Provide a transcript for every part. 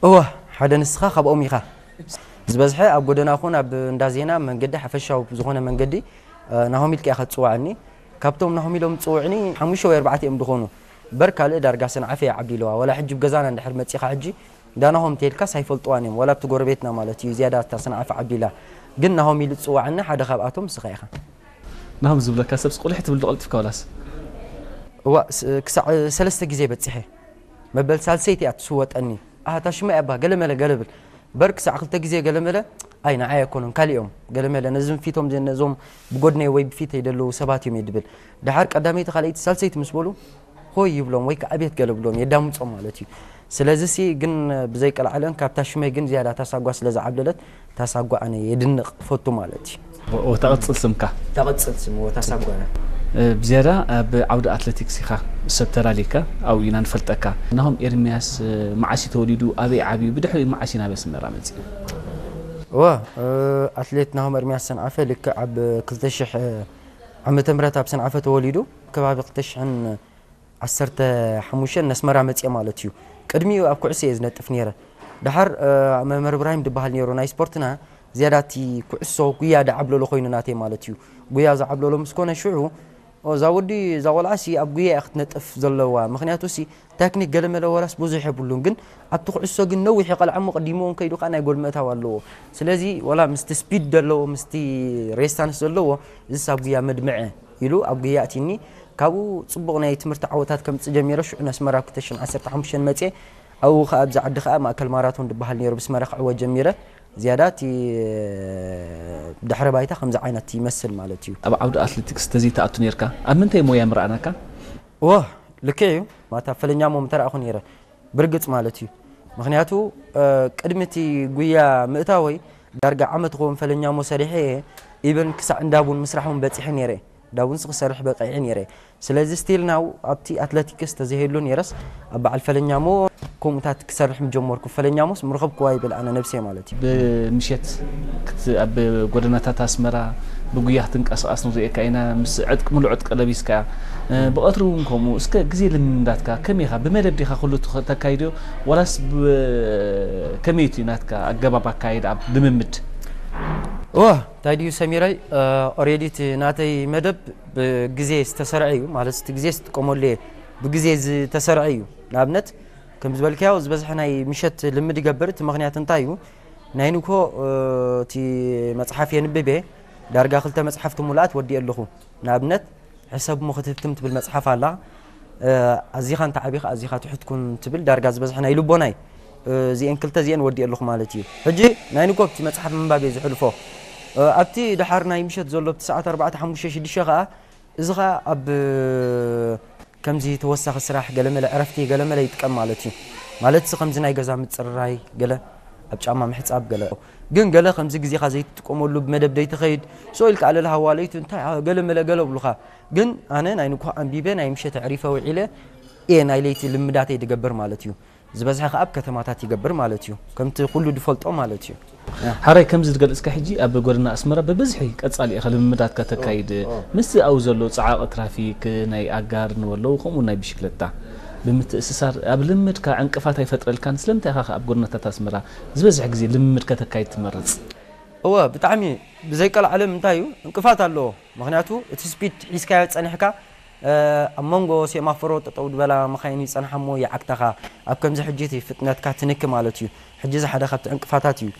እወ፣ ሓደ ንስኻ ካብኦም ኢኻ። ዝበዝሐ ኣብ ጎደና ኹን ኣብ እንዳ ዜና መንገዲ ሓፈሻዊ ዝኾነ መንገዲ ናሆም ኢልካ ኢኻ ትፅዋዕኒ። ካብቶም ናሆም ኢሎም ዝፅውዕኒ ሓሙሽተ ወይ ኣርባዕተ እዮም ዝኾኑ። በር ካልእ ዳርጋ ሰንዓፈ እያ ዓብሊለዋ። ዋላ ሕጂ ብገዛና እንድሕር መፂኻ ሕጂ እንዳ ናሆም ተይልካስ ኣይፈልጥዋን እዮም። ዋላ ኣብቲ ጎረቤትና ማለት እዩ ዝያዳ እታ ሰንዓፈ ዓብሊላ። ግን ናሆም ኢሉ ዝፅዋዕኒ ሓደ ካብኣቶም ንስኻ ኢኻ። ናሆም ዝብለካ ሰብስ ቁልሕ ትብል ዶ ቀልጢፍካ ዋላስ? እዋ፣ ስ- ክሳዕ ሰለስተ ግዜ በፂሐ። መበል ሳልሰይቲ እያ ትስወጠኒ። ኣታ ሽማ እያ ባ ገለመለ ገለብል። በር ክሳዕ ክልተ ግዜ ገለመለ። ኣይ ንዓይ ኣይኮኑን ካሊኦም ገለመለ ነዝም ፊቶም ዘ- ነዞም ብጎድነይ ወይ ብፊተይ ደለዉ ሰባት እዮም እየ ድብል። ድሓር ቀዳመይቲ ካልኣይቲ ሳልሰይቲ ምስ በሉ ሆይ ይብሎም ወይ ከዓ ቤት ገለ ብሎም የዳምፆም ማለት እዩ። ስለዚ ሲ ግን ብዘይቀልዓለን ካብታ ሽመይ ግን ዝያዳ ታሳጓ ስለ ዝዓብለለት ታሳጓ ኣነ የድንቕ ፈቱ ማለት እዩ። ተቐፅል ስምካ ተቐፅል ስም ወታ ሳጓና ብዝያዳ ኣብ ዓውዲ ኣትሌቲክስ ኢኻ ሰብ ተላሊካ ኣብኡ ኢና ንፈልጠካ። ናሆም ኤርሚያስ መዓስ እዩ ተወሊዱ? ኣበይ ዓብዩ? ብድሕሪኡ መዓስ እዩ ናብ ኣስመራ መፅኡ? እወ ኣትሌት ናሆም ኤርሚያስ ሰንዓፈ ልክዕ ኣብ ክልተ ሽሕ ዓመተ ምህረት ኣብ ሰንዓፈ ተወሊዱ። ከባቢ ክልተ ሽሕን ዓሰርተ ሓሙሽተን ነስመራ መፅአ ማለት እዩ። ቅድሚኡ ኣብ ኩዕሶ እየ ዝነጥፍ ነይረ። ድሓር መምህር እብራሂም ዝበሃል ነይሩ ናይ ስፖርትና ዝያዳ እቲ ኩዕሶ ጉያ ዳዓብለሎ ኮይኑ ናተይ ማለት እዩ። ጉያ ዝዓብለሎ ምስ ኮነ ሽዑ እዛ ወዲ እዛ ቆልዓ ሲ ኣብ ጉያ እያ ክትነጥፍ ዘለዋ፣ ምክንያቱ ሲ ታክኒክ ገለመለ ወላስ ብዙሕ የብሉን፣ ግን ኣብቲ ኩዕሶ ግን ነዊሕ ይቐልዓሞ ቅዲምዎም ከይዱ ከዓ ናይ ጎል ምእታው ኣለዎ። ስለዚ ወላ ምስቲ ስፒድ ዘለዎ ምስቲ ሬስታንስ ዘለዎ እዚስ ኣብ ጉያ መድምዐ ኢሉ ኣብ ጉያ ኣእቲኒ። ካብኡ ፅቡቕ ናይ ትምህርቲ ዓወታት ከምፅእ ጀሚረ። ሽዑ ነስመራ ኣብ ክልተ ሽሕን ዓሰርተ ሓሙሽተን መፅየ። ኣብኡ ከዓ ኣብዚ ዓዲ ከዓ ማእከል ማራቶን ዝበሃል ነይሩ ብስመራ ክዕወት ጀሚረ። ዝያዳ እቲ ድሕረ ባይታ ከምዚ ዓይነት ይመስል ማለት እዩ። ኣብ ዓውዲ ኣትሌቲክስ ተዘይተኣቱ ነርካ ኣብ ምንታይ ሞያ ምረኣናካ? እወ ልክዕ እዩ። ማታ ፈለኛሞ ምተረእኹ ነይረ ብርግፅ ማለት እዩ። ምክንያቱ ቅድሚ እቲ ጉያ ምእታወይ ዳርጋ ዓመት ክኸውን ፈለኛሞ ሰሪሐ እየ። ኢቨን ክሳዕ እንዳቡን ምስራሕ እውን በፂሐ ነይረ። ዳቡንስ ክሰርሕ በቂዐ ነይረ። ስለዚ ስቲል ናው ኣብቲ ኣትለቲክስ ተዘይህሉ ነይረስ ኣብ በዓል ፈለኛሞ ከምኡታት ክሰርሕ ምጀመርኩ። ፈለኛሞስ ምረኸብኩዋ ይብል ኣነ ነብሰይ ማለት እዩ። ብምሸት ኣብ ጎደናታት ኣስመራ ብጉያ ክትንቀሳቐስ ንሪኤካ ኢና። ምስ ዕጥቂ ሙሉእ ዕጥቂ ለቢስካ ብቐትሪ እውን ከምኡ። እስከ ግዜ ልምምዳትካ ከመይ ኢኻ? ብመደብ ዲኻ ኩሉ ተካይድዮ ዋላስ ከመይ እቲ ናትካ ኣገባብ ኣካይድ ኣብ ልምምድ? እወ እንታይ ድዩ ሰሚረይ ኦሬዲ እቲ ናተይ መደብ ብግዜ ዝተሰርዐ እዩ ማለት እቲ ግዜ ዝጥቀመሉ እየ ብግዜ ዝተሰርዐ እዩ። ንኣብነት ከም ዝበልካዮ ዝበዝሐ ናይ ምሸት ልምድ ይገብር። እቲ ምክንያት እንታይ እዩ? ናይ ንኮ እቲ መፅሓፍ የንብብ እየ። ዳርጋ ክልተ መፅሓፍቲ ሙሉኣት ወዲእ ኣለኹ። ንኣብነት ሕሰብ እሞ ክትህትም ትብል መፅሓፍ ኣላ። ኣዚኻ እንተ ዓቢኻ ኣዚኻ ትሑት ኩን ትብል ዳርጋ ዝበዝሐ ናይ ልቦናይ እዚኤን ክልተ እዚኤን ወዲእ ኣለኹ ማለት እዩ። ሕጂ ናይ ንኮ ኣብቲ መፅሓፍ ምንባብ እየ ዝሕልፎ። ኣብቲ ድሓር ናይ ምሸት ዘሎ ኣብቲ ሰዓት ኣርባዕተ ሓሙሽተ ሽዱሽተ ከዓ እዚ ከዓ ኣብ ከምዚ ተወሳኺ ስራሕ ገለመለ ዕረፍቲ ገለመለ ይጥቀም ማለት እዩ። ማለት ሲ ከምዚ ናይ ገዛ ምፅርራይ ገለ ኣብ ጫማ ምሕፃብ ገለ ግን ገለ ከምዚ ግዜኻ ዘይትጥቀመሉ ብመደብ ደይትኸይድ ሶ ኢልካ ኣለለ ሃዋለይቱ እንታይ ገለመለ ገለ ብሉኻ። ግን ኣነ ናይ ንኩህ ኣንቢበ ናይ ምሸት ኣዕሪፈ ውዒለ እየ ናይ ለይቲ ልምዳተይ ድገብር ማለት እዩ። ዝበዝሐ ከኣ ኣብ ከተማታት ይገብር ማለት እዩ። ከምቲ ኩሉ ድፈልጦ ማለት እዩ። ሓራይ ከምዚ ዝገልጽካ ሕጂ ኣብ ጎደና ኣስመራ ብብዝሒ ቀጻሊ ኢኻ ልምምዳትካ ተካይድ። ምስቲ ኣብኡ ዘሎ ጸዓቒ ትራፊክ ናይ ኣጋር ንበለዉ ከምኡ ናይ ብሽክለታ ብምትእስሳር ኣብ ልምድካ ዕንቅፋት ኣይፈጥረልካን? ስለምንታይ ኢኻ ኣብ ጎደናታት ኣስመራ ዝበዝሕ ግዜ ልምምድካ ተካይድ ትመርጽ? እወ ብጣዕሚ ብዘይቀልዓለም እንታይ እዩ ዕንቅፋት ኣለዎ። ምኽንያቱ እቲ ስፒድ ሒዝካዮ ጸኒሕካ ኣብ መንጎ ሴማፎሮ ጠጠው ዝበላ መኻይን ይጸንሓ እሞ ይዓግታኻ። ኣብ ከምዚ ሕጂ እቲ ፍጥነትካ ትንኪ ማለት እዩ። ሕጂ እዚ ሓደ ካብቲ ዕንቅፋታት እዩ።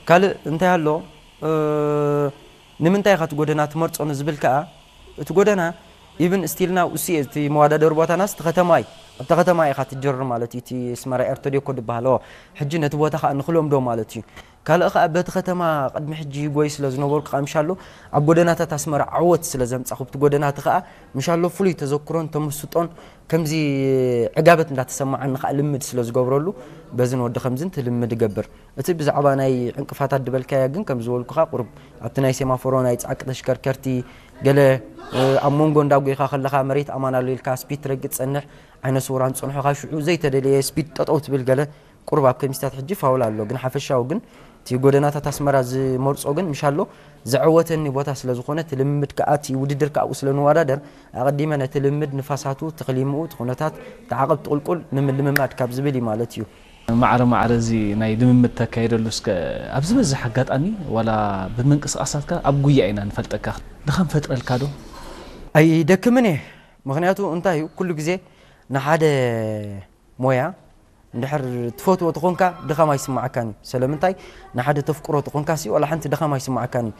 ካልእ እንታይ ኣሎ? ንምንታይ ኢኻ እቲ ጎደና ትመርጾ ንዝብል ከኣ እቲ ጎደና ኢቭን ስቲል ናው እሱ እዩ። እቲ መዋዳደሪ ቦታናስ እቲ ከተማ እዩ። ኣብቲ ከተማ ኢኻ ትጀርር ማለት እዩ። እቲ ስመራ ኤርቶዴኮ ዝበሃል ሕጂ ነቲ ቦታ ከዓ ንክለምዶ ማለት እዩ። ካልእ ከዓ በቲ ከተማ ቅድሚ ሕጂ ይጎይ ስለ ዝነበርኩ ከዓ ምሻሎ ኣብ ጎደናታት ኣስመራ ዓወት ስለ ዘምፃኹ ብቲ ጎደናቲ ከዓ ምሻሎ ፍሉይ ተዘክሮን ተመስጦን ከምዚ ዕጋበት እንዳተሰማዓኒ ከዓ ልምድ ስለ ዝገብረሉ በዝን ወዲ ከምዝን ትልምድ እገብር። እቲ ብዛዕባ ናይ ዕንቅፋታት ዝበልካያ ግን ከም ዝበልኩኻ ቁሩብ ኣብቲ ናይ ሴማፎሮ ናይ ጻዕቂ ተሽከርከርቲ ገለ ኣብ መንጎ እንዳጎይኻ ከለኻ መሬት ኣማን ኣሎ ኢልካ ስፒድ ትረግጽ ጸንሕ ዓይነ ስውራን ጸንሖኻ ሽዑ ዘይተደለየ ስፒድ ጠጠው ትብል ገለ ቁሩብ ኣብ ከሚስታት ሕጂ ፋውል ኣሎ ግን ሓፈሻዊ ግን እቲ ጎደናታት ኣስመራ ዝመርጾ ግን ምሻሎ ዘዐወተኒ ቦታ ስለ ዝኾነ እቲ ልምምድ ከኣ እቲ ውድድር ከኣ ኣብኡ ስለ ንወዳደር ኣቐዲመ ነቲ ልምምድ ንፋሳቱ እቲ ክሊምኡ እቲ ኩነታት እቲ ዓቐብ ትቕልቁል ንምልምማድ ካብ ዝብል እዩ ማለት እዩ። ማዕረ ማዕረ እዚ ናይ ልምምድ ተካይደሉ እስከ ኣብ ዝበዝሕ ኣጋጣሚ ዋላ ብምንቅስቃሳትካ ኣብ ጉያ ኢና ንፈልጠካ። ድኻም ፈጥረልካ ዶ? ኣይደክምን እየ። ምኽንያቱ እንታይ እዩ፣ ኩሉ ግዜ ንሓደ ሞያ እንድሕር ትፈትዎ ተኾንካ ድኻም ኣይስማዓካን እዩ። ስለምንታይ? ንሓደ ተፍቅሮ ተኾንካ ሲ ዋላ ሓንቲ ድኻም ኣይስማዓካን እዩ።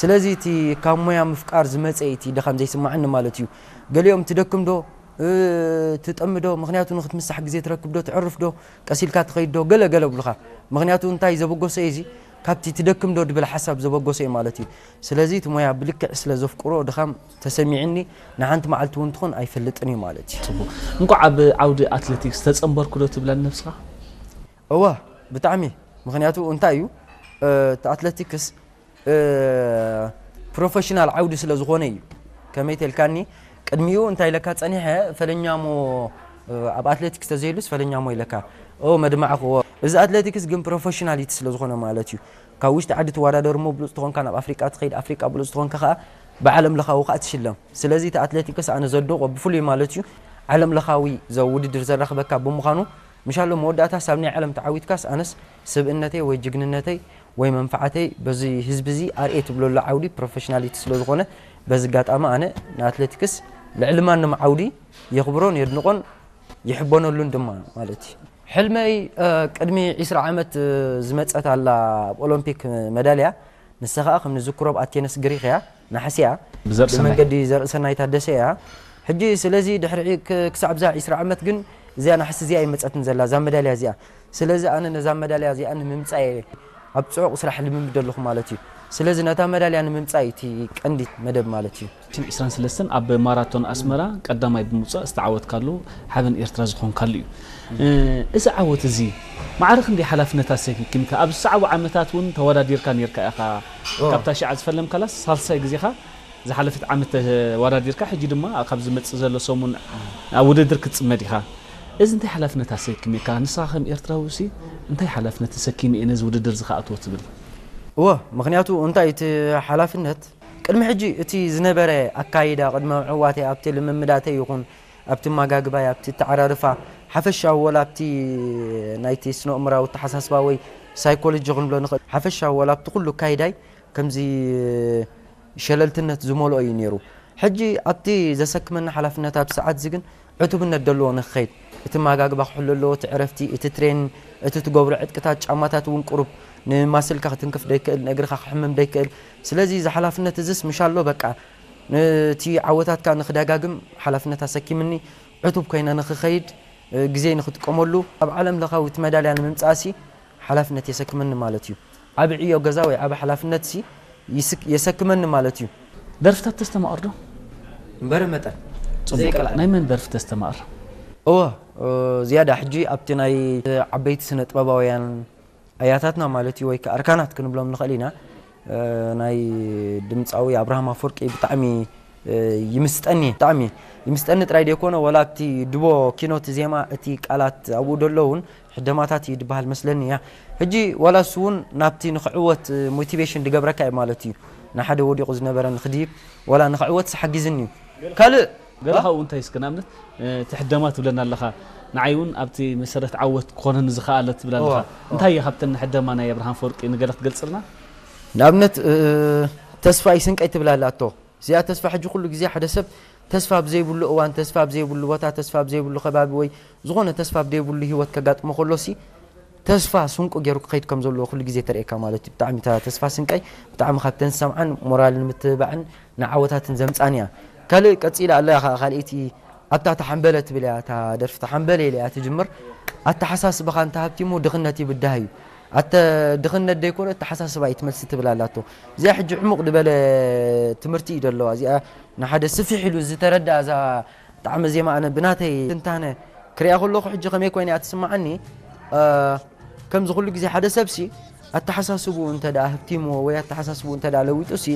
ስለዚ እቲ ካብ ሞያ ምፍቃር ዝመፀ እቲ ድኻም ዘይስማዓኒ ማለት እዩ። ገሊኦም ትደክም ዶ፣ ትጠሚ ዶ፣ ምኽንያቱ ንክትምሳሕ ግዜ ትረክብ ዶ፣ ትዕርፍ ዶ፣ ቀሲልካ ትኸይድ ዶ፣ ገለ ገለ ብሉኻ። ምኽንያቱ እንታይ ዘበገሶ እዩ እዚ፣ ካብቲ ትደክም ዶ ድብል ሓሳብ ዘበገሶ እዩ ማለት እዩ። ስለዚ እቲ ሞያ ብልክዕ ስለ ዘፍቅሮ ድኻም ተሰሚዕኒ፣ ንሓንቲ መዓልቲ እውን ትኾን ኣይፈልጥን እዩ ማለት እዩ። ጽቡቕ። እንኳዕ ኣብ ዓውዲ ኣትሌቲክስ ተጸንበርኩ ዶ ትብለኒ ነብስኻ? እወ፣ ብጣዕሚ። ምኽንያቱ እንታይ እዩ፣ እቲ ኣትሌቲክስ ፕሮፌሽናል ዓውዲ ስለ ዝኾነ እዩ። ከመይ ተልካኒ፣ ቅድሚኡ እንታይ ኢለካ ጸኒሐ፣ ፈለኛሞ ኣብ ኣትሌቲክስ ተዘይሉስ ፈለኛሞ ኢለካ። ኦ መድማዕክዎ። እዚ ኣትሌቲክስ ግን ፕሮፌሽናሊቲ ስለ ዝኾነ ማለት እዩ። ካብ ውሽጢ ዓዲ ትወዳደር እሞ ብሉፅ ትኾንካ ናብ ኣፍሪቃ ትኸይድ፣ ኣፍሪቃ ብሉፅ ትኾንካ ከዓ ብዓለም ለኻዊ ከዓ ትሽለም። ስለዚ እቲ ኣትሌቲክስ ኣነ ዘድንቆ ብፍሉይ ማለት እዩ ዓለም ለኻዊ ዘውድድር ዘራኽበካ ብምዃኑ ምሻሎ መወዳእታስ ኣብ ናይ ዓለም ተዓዊትካስ ኣነስ ስብእነተይ ወይ ጅግንነተይ ወይ መንፍዓተይ በዚ ህዝቢ እዚ ኣርኤ ትብለሉ ዓውዲ ፕሮፌሽናሊቲ ስለ ዝኾነ በዚ ኣጋጣሚ ኣነ ንኣትሌቲክስ ልዕሊ ማንም ዓውዲ የኽብሮን የድንቆን ይሕበነሉን ድማ ማለት እዩ። ሕልመይ ቅድሚ ዒስራ ዓመት ዝመፀት ኣላ ኣብ ኦሎምፒክ መዳልያ ንሳ ከዓ ከም ንዝክሮ ኣብ ኣቴነስ ግሪክ እያ፣ ናሕሲ እያ። ብመንገዲ ዘርእሰናይ ታደሰ እያ። ሕጂ ስለዚ ድሕሪ ክሳብ እዛ ዒስራ ዓመት ግን እዚኣ ናሕሲ እዚኣ ይመፀትን ዘላ እዛ መዳልያ እዚኣ። ስለዚ ኣነ ነዛ መዳልያ እዚኣ ንምምፃእ እየ ኣብ ፅዑቕ ስራሕ ልምምድ ኣለኹ ማለት እዩ። ስለዚ ነታ መዳልያ ንምምፃእ እዩ እቲ ቀንዲ መደብ ማለት እዩ። ዒስራን ሰለስተን ኣብ ማራቶን ኣስመራ ቀዳማይ ብምውፃእ ዝተዓወትካሉ ሓበን ኤርትራ ዝኾንካሉ እዩ። እዚ ዓወት እዚ ማዕረ ክንደይ ሓላፍነት ኣሰኪምካ? ኣብ ዝሰዓቡ ዓመታት እውን ተወዳዲርካ ነርካ ኢኻ። ካብታ ሽዓ ዝፈለምካላስ ሳልሳይ ግዜኻ ዝሓለፈት ዓመት ተወዳዲርካ፣ ሕጂ ድማ ካብ ዝመጽእ ዘሎ ሰሙን ኣብ ውድድር ክትጽመድ ኢኻ። እዚ እንታይ ሓላፍነት ኣሰኪምካ? ንስኻ ከም ኤርትራዊ ሲ እንታይ ሓላፍነት ተሰኪመ እየ ነዚ ውድድር እዚ ክኣትዎ ትብል? እወ፣ ምኽንያቱ እንታይ እቲ ሓላፍነት ቅድሚ ሕጂ እቲ ዝነበረ ኣካይዳ ቅድሚ ምዕዋተይ ኣብቲ ልምምዳተይ ይኹን ኣብቲ ማጋግባይ ኣብቲ ኣተዓራርፋ ሓፈሻዊ ወላ ኣብቲ ናይቲ ስነ-ኣእምራዊ ኣተሓሳስባ ወይ ሳይኮሎጂ ክንብሎ ንኽእል ሓፈሻዊ ወላ ኣብቲ ኩሉ ኣካይዳይ ከምዚ ሸለልትነት ዝመልኦ እዩ ነይሩ። ሕጂ ኣብቲ ዘሰክመኒ ሓላፍነት ኣብዚ ሰዓት እዚ ግን ዕቱብነት ደለዎ ንክኸይድ እቲ ማጋግባ ክሕሎ ኣለዎ፣ እቲ ዕረፍቲ፣ እቲ ትሬን፣ እቲ ትገብሮ ዕጥቅታት፣ ጫማታት እውን ቁሩብ ንማስልካ ክትንክፍ ደይክእል፣ ንእግርኻ ክሕምም ደይክእል። ስለዚ እዚ ሓላፍነት እዝስ ምሻሎ በቃ ነቲ ዓወታትካ ንክደጋግም ሓላፍነት ኣሰኪምኒ፣ ዕቱብ ኮይነ ንክኸይድ ግዜይ ንክጥቀመሉ ኣብ ዓለም ለኻዊት መዳልያ ንምምፃእሲ ሓላፍነት የሰክመኒ ማለት እዩ። ዓቢ ዕዮ ገዛ ወይ ዓቢ ሓላፍነት ሲ ይስክ- የሰክመኒ ማለት እዩ። ደርፍታት ተስተማቕር ዶ? እምበረ መጠን ጽቡቕ። ናይ መን ደርፊ ተስተማቕር? እወ ዝያዳ ሕጂ ኣብቲ ናይ ዓበይቲ ስነ ጥበባውያን ኣያታትና ማለት እዩ ወይ ከዓ ኣርካናት ክንብሎም ንኽእል ኢና። ናይ ድምፃዊ ኣብርሃም ኣፈወርቂ ብጣዕሚ ይምስጠኒ ብጣዕሚ ይምስጠኒ ጥራይ ደይኮነ ወላ ኣብቲ ድቦ ኪኖት ዜማ እቲ ቃላት ኣብኡ ደሎ እውን ሕደማታት እዩ ድበሃል መስለኒ እያ። ሕጂ ዋላ እሱ እውን ናብቲ ንክዕወት ሞቲቬሽን ድገብረካ እዩ ማለት እዩ። ንሓደ ወዲቑ ዝነበረ ንክድይብ ዋላ ንክዕወት ሓጊዝኒ እዩ። ካልእ ገለ ካብኡ እንታይ እስከ ንኣብነት እቲ ሕደማ ትብለና ኣለኻ ንዓይ እውን ኣብቲ መሰረት ዓወት ክኾነኒ ዝኸኣለ ትብል ኣለኻ እንታይ እየ ካብተን ሕደማ ናይ ኣብርሃም ፈወርቂ ንገለ ክትገልፅልና ንኣብነት ተስፋ ይስንቀይ ትብል ኣላ ኣቶ እዚኣ ተስፋ ሕጂ ኩሉ ግዜ ሓደ ሰብ ተስፋ ኣብ ዘይብሉ እዋን ተስፋ ኣብ ዘይብሉ ቦታ ተስፋ ኣብ ዘይብሉ ከባቢ ወይ ዝኾነ ተስፋ ኣብ ዘይብሉ ህይወት ከጋጥሞ ከሎ ሲ ተስፋ ስንቁ ገይሩ ክኸይድ ከም ዘለዎ ኩሉ ግዜ ተርእየካ ማለት እዩ። ብጣዕሚ እታ ተስፋ ስንቀይ ብጣዕሚ ካብተን ዝሰምዓን ሞራል ንምትብባዕን ንዓወታትን ዘምፃን እያ። ካልእ ቀፂላ ኣላ ከዓ ካልኣይቲ ኣብታ ተሓንበለ ትብል እያ እታ ደርፊ ተሓንበለ ኢለ እያ ትጅምር። ኣተሓሳስባኻ እንተሃብቲሙ ድኽነት ይብዳህ እዩ። ኣተ ድኽነት ደይኮነ ኣተሓሳስባ እዩ ትመልሲ ትብል ኣላቶ። እዚኣ ሕጂ ዕሙቕ ዝበለ ትምህርቲ እዩ ደለዋ። እዚኣ ንሓደ ስፍሕ ኢሉ ዝተረዳ እዛ ጣዕመ ዜማ ኣነ ብናተይ ትንታነ ክሪኣ ከለኹ ሕጂ ከመይ ኮይነ እያ ትስምዓኒ ከምዚ ኩሉ ግዜ ሓደ ሰብሲ ኣተሓሳስብኡ እንተ ደኣ ህብቲምዎ ወይ ኣተሓሳስብኡ እንተ ደኣ ለዊጡሲ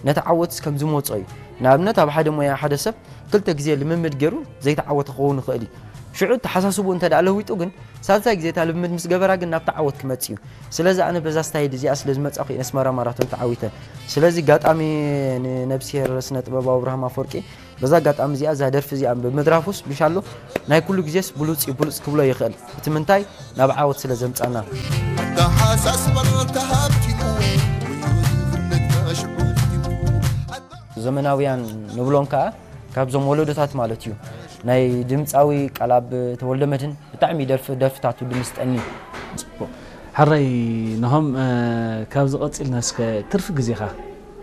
ነቲ ዓወትስ ከም ዝመጾ እዩ። ንኣብነት ኣብ ሓደ ሞያ ሓደ ሰብ ክልተ ግዜ ልምምድ ገይሩ ዘይተዓወተ ክኸውን ይኽእል እዩ። ሽዑ ኣተሓሳስብኡ እንተ ደኣ ለዊጡ ግን ሳልሳይ ግዜ እታ ልምምድ ምስ ገበራ ግን ናብቲ ዓወት ክመጽእ እዩ። ስለዚ ኣነ በዛ ስታይል እዚኣ ስለ ዝመጻኹ እየ ነስመራ ማራቶን ተዓዊተ። ስለዚ ኣጋጣሚ ንነብስሄር ስነ ጥበባዊ ኣብርሃም ኣፈወርቂ በዛ ኣጋጣሚ እዚኣ እዛ ደርፊ እዚኣ ብምድራፉስ ምሻሎ ናይ ኩሉ ግዜስ ብሉጽ እዩ፣ ብሉጽ ክብሎ ይኽእል። እቲ ምንታይ ናብ ዓወት ስለ ዘምጻና። ዘመናውያን ንብሎም ከኣ ካብዞም ወለዶታት ማለት እዩ። ናይ ድምጻዊ ቃላብ ተወልደ መድህን ብጣዕሚ ደርፊ ደርፍታቱ ድምስጠኒ። ሕራይ፣ ነሆም፣ ካብዚ ቀጺልና እስከ ትርፊ ግዜኻ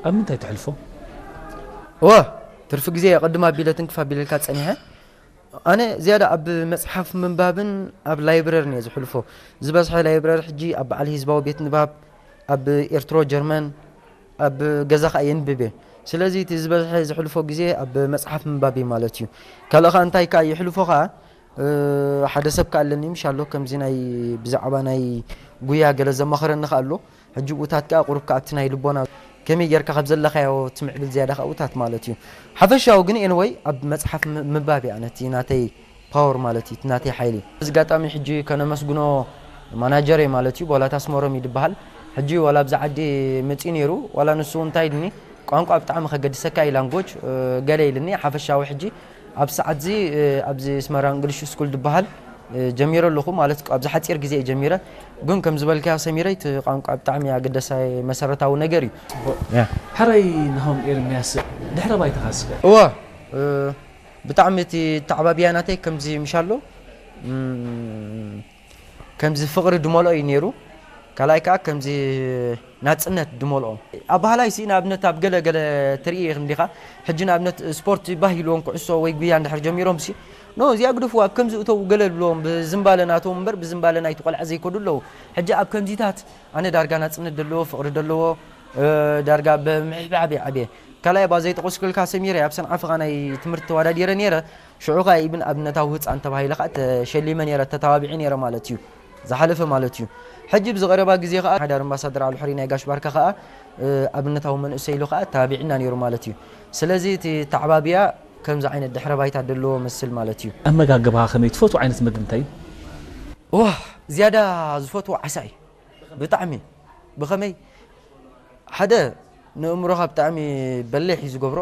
ኣብ ምንታይ ተሕልፎ? እወ፣ ትርፊ ግዜ ቅድም ኣቢለ ትንክፍ ኣቢለልካ ጸኒሐ። ኣነ ዝያዳ ኣብ መጽሓፍ ምንባብን ኣብ ላይብረርን እየ ዝሕልፎ። ዝበዝሐ ላይብረሪ ሕጂ ኣብ በዓል ህዝባዊ ቤት ንባብ ኣብ ኤርትሮ ጀርመን ኣብ ገዛ ከኣ የንብብ እየ። ስለዚ እቲ ዝበዝሐ ዝሕልፎ ግዜ ኣብ መጽሓፍ ምንባብ እዩ ማለት እዩ። ካልእ ከኣ እንታይ ከኣ ይሕልፎ ከኣ ሓደ ሰብ ከኣ ኣለኒ ምሽ ኣሎ ከምዚ ናይ ብዛዕባ ናይ ጉያ ገለ ዘማኽረኒ ከኣ ኣሎ። ሕጂ ብኡታት ከኣ ቁሩብ ከኣ እቲ ናይ ልቦና ከመይ ጌርካ ካብ ዘለኻዮ ትምዕብል ዝያዳ ከኣ ብኡታት ማለት እዩ። ሓፈሻዊ ግን ኤንወይ ኣብ መጽሓፍ ምባብ እያ ነቲ ናተይ ፓወር ማለት እዩ፣ እቲ ናተይ ሓይሊ። እዚ ኣጋጣሚ ሕጂ ከነመስግኖ ማናጀረይ ማለት እዩ፣ ቦላት ኣስመሮም እዩ ዝበሃል። ሕጂ ዋላ ኣብዚ ዓዲ መጺኡ ነይሩ፣ ዋላ ንሱ እንታይ ኢልኒ፣ ቋንቋ ብጣዕሚ ከገድሰካ እዩ ላንጎጅ ገለ ኢልኒ። ሓፈሻዊ ሕጂ ኣብ ሰዓት እዚ ኣብዚ ኣስመራ እንግሊሽ ስኩል ዝበሃል ጀሚረ ኣለኹ ማለት ኣብዚ ሓጺር ግዜ እዩ ጀሚረ። ግን ከም ዝበልካዮ ሰሚረይ እቲ ቋንቋ ብጣዕሚ ኣገዳሳይ መሰረታዊ ነገር እዩ። ሕራይ ናሆም ኤርምያስ ድሕረ ባይታኻ እስከ? እወ ብጣዕሚ እቲ ተዓባብያ ናተይ ከምዚ ምሻሎ ከምዚ ፍቕሪ ድመልኦ እዩ ነይሩ። ካልኣይ ከዓ ከምዚ ናፅነት ድመልኦ። ኣባህላይ ሲ ንኣብነት ኣብ ገለ ገለ ትርኢ ኢኽም ዲኻ? ሕጂ ንኣብነት ስፖርት ባህ ኢልዎም ኩዕሶ ወይ ጉያ እንድሕር ጀሚሮም ሲ ኖ እዚኣ ግደፍዋ ኣብ ከምዚ እተው ገለ ድብልዎም ብዝምባለ ናቶም እምበር ብዝምባለ ናይቲ ቆልዓ ዘይከዱ ኣለዉ። ሕጂ ኣብ ከምዚታት ኣነ ዳርጋ ናፅነት ደለዎ ፍቕሪ ደለዎ ዳርጋ ብምሕብሓብ ይዓብየ። ካልኣይ ባ ዘይጠቐስኩልካ ሰሚረ ኣብ ሰንዓፈ ኸኣ ናይ ትምህርቲ ተወዳዲረ ነይረ። ሽዑ ኸኣ ኢብን ኣብነታዊ ህፃን ተባሂለ ኸኣ ተሸሊመ ነይረ ተተባቢዐ ነይረ ማለት እዩ። ዝሓለፈ ማለት እዩ። ሕጂ ብዝቐረባ ግዜ ኸኣ ሓዳር ኣምባሳደር ኣልሑሪ ናይ ጋሽ ባርካ ኸኣ ኣብነታዊ መንእሰይ ኢሉ ኸኣ ተባቢዕና ነይሩ ማለት እዩ። ስለዚ እቲ ተዓባብያ ከምዚ ዓይነት ድሕረ ባይታ ደለዎ መስል ማለት እዩ። ኣመጋግባኻ ከመይ ትፈትዎ ዓይነት መግቢ እንታይ እዩ? ዋ ዝያዳ ዝፈትዎ ዓሳ እዩ። ብጣዕሚ ብኸመይ ሓደ ንእምሮኻ ብጣዕሚ በሊሕ እዩ ዝገብሮ።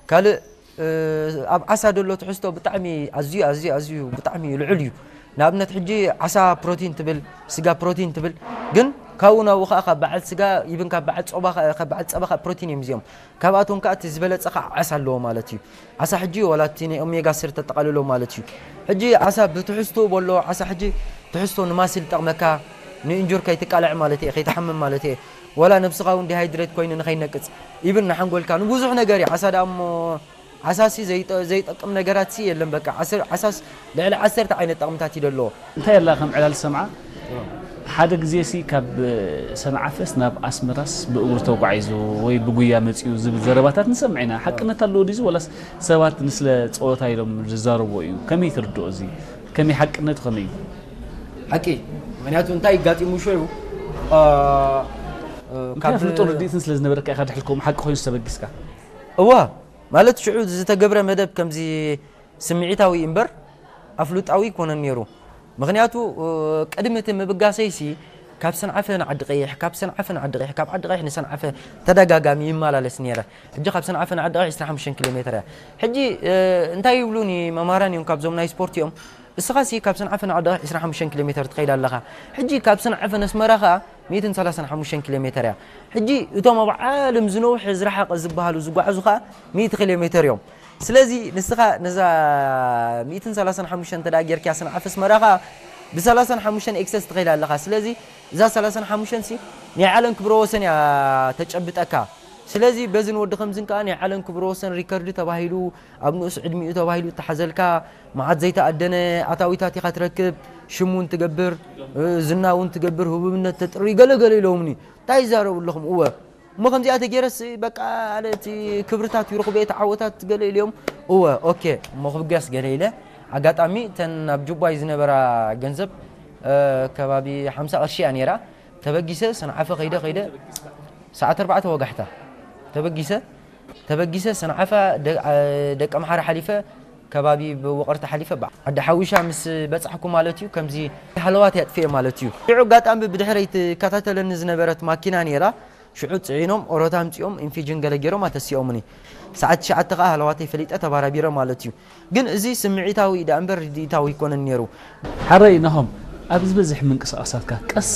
ካልእ ኣብ ዓሳ ደሎ ትሕዝቶ ብጣዕሚ ኣዝዩ ኣዝዩ ኣዝዩ ብጣዕሚ ልዑል እዩ። ንኣብነት ሕጂ ዓሳ ፕሮቲን ትብል፣ ስጋ ፕሮቲን ትብል፣ ግን ካብኡ ናብኡ ከዓ ካብ በዓል ስጋ ይብን ካብ በዓል ፆባ ካብ በዓል ፀባ ከዓ ፕሮቲን እዮም እዚኦም። ካብኣቶም ከዓ እቲ ዝበለፀ ከዓ ዓሳ ኣለዎ ማለት እዩ። ዓሳ ሕጂ ዋላ እቲ ናይ ኦሜጋ ስሪ ተጠቓልሎ ማለት እዩ። ሕጂ ዓሳ ብትሕዝቶ በሎ ዓሳ ሕጂ ትሕዝቶ ንማስል ይጠቕመካ ንእንጁር ከይትቃልዕ ማለት እየ ከይትሓምም ማለት እየ። ዋላ ነብስኻ እውን ዲሃይድሬት ኮይኑ ንኸይነቅፅ ኢብን ንሓንጎልካ ንብዙሕ ነገር እዩ። ዓሳ ደኣ እሞ ዓሳሲ ዘይጠቅም ነገራት ሲ የለን በቃ ዓሳስ ልዕሊ ዓሰርተ ዓይነት ጠቕምታት እዩ ደለዎ። እንታይ ኣላ ከም ዕላል ሰምዓ ሓደ ግዜ ሲ ካብ ሰንዓፈስ ናብ ኣስመራስ ብእግሩ ተጓዒዙ ወይ ብጉያ መጺኡ ዝብል ዘረባታት ንሰምዕ ኢና። ሓቅነት ኣለዎ ድዩ ወላስ ሰባት ንስለ ጸወታ ኢሎም ዝዛረብዎ እዩ? ከመይ ትርድኦ እዚ? ከመይ ሓቅነቱ ከመይ እዩ? ሓቂ ምክንያቱ እንታይ ይጋጢሙ ሸዩ ካብ ፍልጦ ርድኢትን ስለ ዝነበረካ ኢኻ ድሕልከም ሓቂ ኮይኑ ዝተበጊስካ እዋ ማለት ሽዑ ዝተገብረ መደብ ከምዚ ስምዒታዊ እምበር ኣፍሉጣዊ ኣይኮነን ነይሩ። ምኽንያቱ ቅድሚ እቲ ምብጋሰይሲ ካብ ሰንዓፈ ንዓዲ ቀይሕ፣ ካብ ሰንዓፈ ንዓዲ ቀይሕ፣ ካብ ዓዲ ቀይሕ ንሰንዓፈ ተደጋጋሚ ይመላለስ ነይረ። ሕጂ ካብ ሰንዓፈ ንዓዲ ቀይሕ ዕስራን ሓሙሽተን ኪሎ ሜትር እያ። ሕጂ እንታይ ይብሉኒ መማራን እዮም ካብዞም ናይ ስፖርት እዮም እስኻሲ ካብ ሰንዓፈ ንዓዲ ቀይሕ ዕስራን ሓሙሽተን ኪሎ ሜትር ትኸይድ ኣለኻ። ሕጂ ካብ ሰንዓፈ ነስመራ ኸኣ ሚእትን ሰላሳን ሓሙሽተን ኪሎ ሜትር እያ። ሕጂ እቶም ኣብ ዓለም ዝነውሐ ዝረሓቐ ዝበሃሉ ዝጓዓዙ ኸኣ ሚእቲ ኪሎ ሜትር እዮም። ስለዚ ንስኻ ነዛ ሚእትን ሰላሳን ሓሙሽተን እንተ ደኣ ጌርካያ ሰንዓፈ ኣስመራ ኸኣ ብሰላሳን ሓሙሽተን ኤክሰስ ትኸይድ ኣለኻ። ስለዚ እዛ ሰላሳን ሓሙሽተን ሲ ናይ ዓለም ክብረ ወሰን እያ ተጨብጠካ። ስለዚ በዝን ወዲ ከምዝን ከኣ ናይ ዓለም ክብረ ወሰን ሪከርድ ተባሂሉ ኣብ ንኡስ ዕድሚኡ ተባሂሉ እተሓዘልካ መዓት ዘይተኣደነ ኣታዊታት ኢኻ ትረክብ። ሽም እውን ትገብር፣ ዝና እውን ትገብር፣ ህቡብነት ተጥሪ ገለ ገለ ኢሎምኒ። እንታይ ይዛረቡ ኣለኹም? እወ እሞ ከምዚኣ ተገይረስ በቃ ኣነ እቲ ክብርታት ይረኽቦ እየ፣ እቲ ዓወታት ገለ ኢለዮም። እወ ኦኬ እሞ ክብገስ ገለ ኢለ። ኣጋጣሚ እተን ኣብ ጁባይ ዝነበራ ገንዘብ ከባቢ ሓምሳ ቅርሺ እያ ነይራ። ተበጊሰ ሰንዓፈ ከይደ ከይደ ሰዓት ኣርባዕተ ወጋሕታ ተበጊሰ ተበጊሰ ሰንዓፈ ደቂ ኣምሓራ ሓሊፈ ከባቢ ብውቕርቲ ሓሊፈ ዓዲ ሓዊሻ ምስ በጻሕኩ ማለት እዩ ከምዚ ሃለዋት እያ ጥፍኤ ማለት እዩ። ሽዑ ኣጋጣሚ ብድሕረይ ትከታተለኒ ዝነበረት ማኪና ነይራ። ሽዑ ጽዒኖም ኦሮታ ኣምጺኦም ኢንፊጅን ገለ ገይሮም ኣተሲኦምኒ። ሰዓት ትሽዓተ ከኣ ሃለዋተይ ፈሊጠ ተባራቢረ ማለት እዩ። ግን እዚ ስምዒታዊ ደኣ እምበር ርድኢታዊ ኣይኮነን ነይሩ። ሓረይ ናሆም፣ ኣብ ዝበዝሕ ምንቅስቓሳትካ ቀስ